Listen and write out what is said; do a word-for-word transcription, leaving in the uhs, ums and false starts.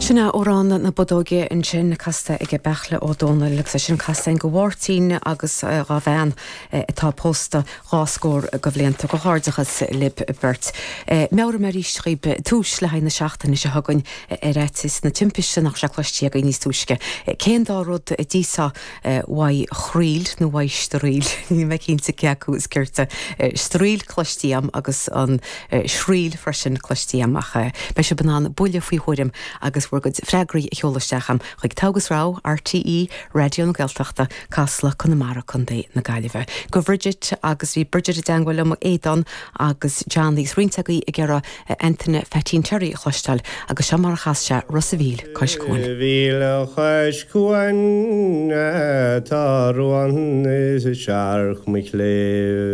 Sin amhrán na Bodóige ansin casta ag Beartla Ó Domhnaill agus é sin casta do Mháirtín agus dá bhean atá pósta dhá scór de bhlianta comhghairdeachas libh beirt. Meabhraím arís daoibh tús le haghaidh na seachtaine seo chugainn ar fhaitíos na timpiste nach sé cloiste againn níos túisce. Cén dá rud a d'íosfá uaidh chroíl nó uaidh straoil níl mé cinnte cé acu is cirte straoil cloiste agam agus an sraoill freisin cloiste agam ach beidh sibh in ann buille faoi thuairim agus bhur gcuid freagraí a sheoladh isteach agam chuig Togha is Rogha RTÉ Raidió na Gaeltachta Casla Conamara Contae na Gaillimhe. Go Bridget agus bhí Bridget i dteagmháil liom Aodán agus John agus roinnt agaibh ag iarraidh Antaine Pheaitín Terry a chloisteáil agus seo mar a chas sé Ros an Mhíl cois cuain. Mhíle chois cuain tá ruan is searc mo chléibh.